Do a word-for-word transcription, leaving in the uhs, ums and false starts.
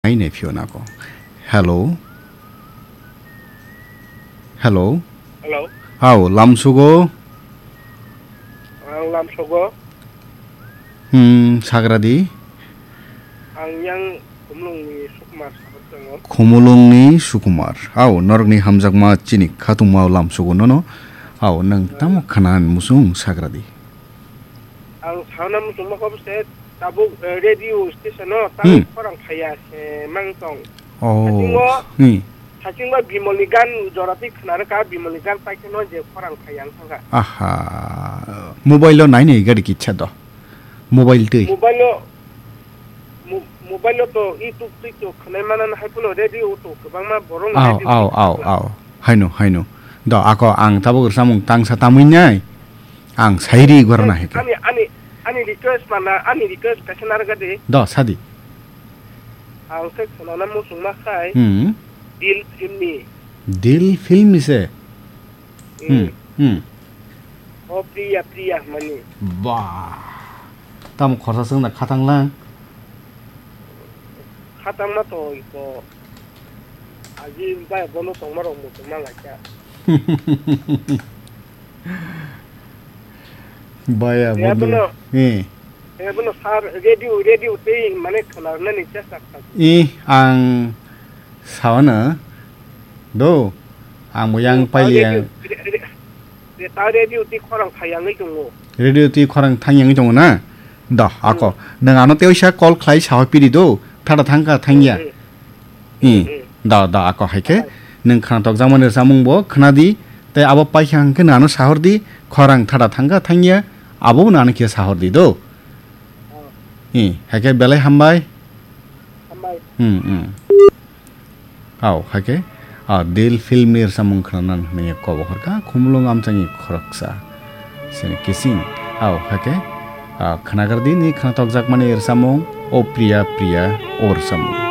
Ai ne phio nako. Hello. Hello. Hello. Hao, lamsugo. Ang lamsogo. Hmm, sagradi. Ang yang Khumulungni Sukumar sabar tongo. Khumulungni Sukumar. Hao, norokni hamjakma chini khatungma lamsugo nono. Hao, nang tamo khanan musung sagradi. Ang sauna muchungma kho se tabuk, eh, radio station o tabuk Hmm. khorang phaiya se mang tong. Oh. Hasingo, Hmm. hasingo Bimolni gan jora twi khna rwkha, Bimolni gan paikhe no je khorang phaiya wng thangkha. Aha. Mobile o nai nai gari kicha do. Mobile twi. Mobile o, mo-, mobile o to YouTube twi to khwnai mana hai phano radio o to kwbangma borok Au, radio au, twi au, khna. Au. Haino, haino. Do ako ang tabuk rwchapmung tangsa tamwi nai. Ang sairi gorna heke. Ani, ani, ani request mana, ani request kaisa narwkha di. Do, sadi. Ang khe khwnana muchungma khai. Hmm. Dil film ni. Dil film ni se? Hmm. Hmm, hmm. O Priya, Priya mani. Ba. Tamo khorsa swngna khatang lang. Khatang ma to iko. Aji bai bono tongma rok muchungma laika. Baya, ya, bondo. Bono. Eh. Eh, bono sir, radio, radio tei mane khwnarnani chesta khlai. Eh, ang sawana do, ang bo yang paili radio, yang. Re-, re-, re-, ta radio tei khorang thayangwi tongo. Radio tei khorang thangyangwi tongo na? Do, ako. Hmm. Nang ano teisa call khlai sawa piri do, thada thangka thangya. Hmm, hmm. Hmm. Hmm. Da, da, ako hai khe. Hai. Nwng khwnathok jakmani rwchapmung bo khwna di, tei abo paikha hwnkhe nwng ano sahor di, khorang thada thangkha thangya, abo nwng ano khe sahor di do. Oh. Hmm, hai khe belai hambai. Hambai. Hmm, hmm. Au, hai khe, ah, Dil film ni rwchapmung khwna nang hwnwi kobo hor kha, Khumulwng amchaini khoroksa. Sini kising. Au, hai khe, ah, khwnagar di ni khwnathok jakmani rwchapmung, O Priya Priya, o rwchapmung.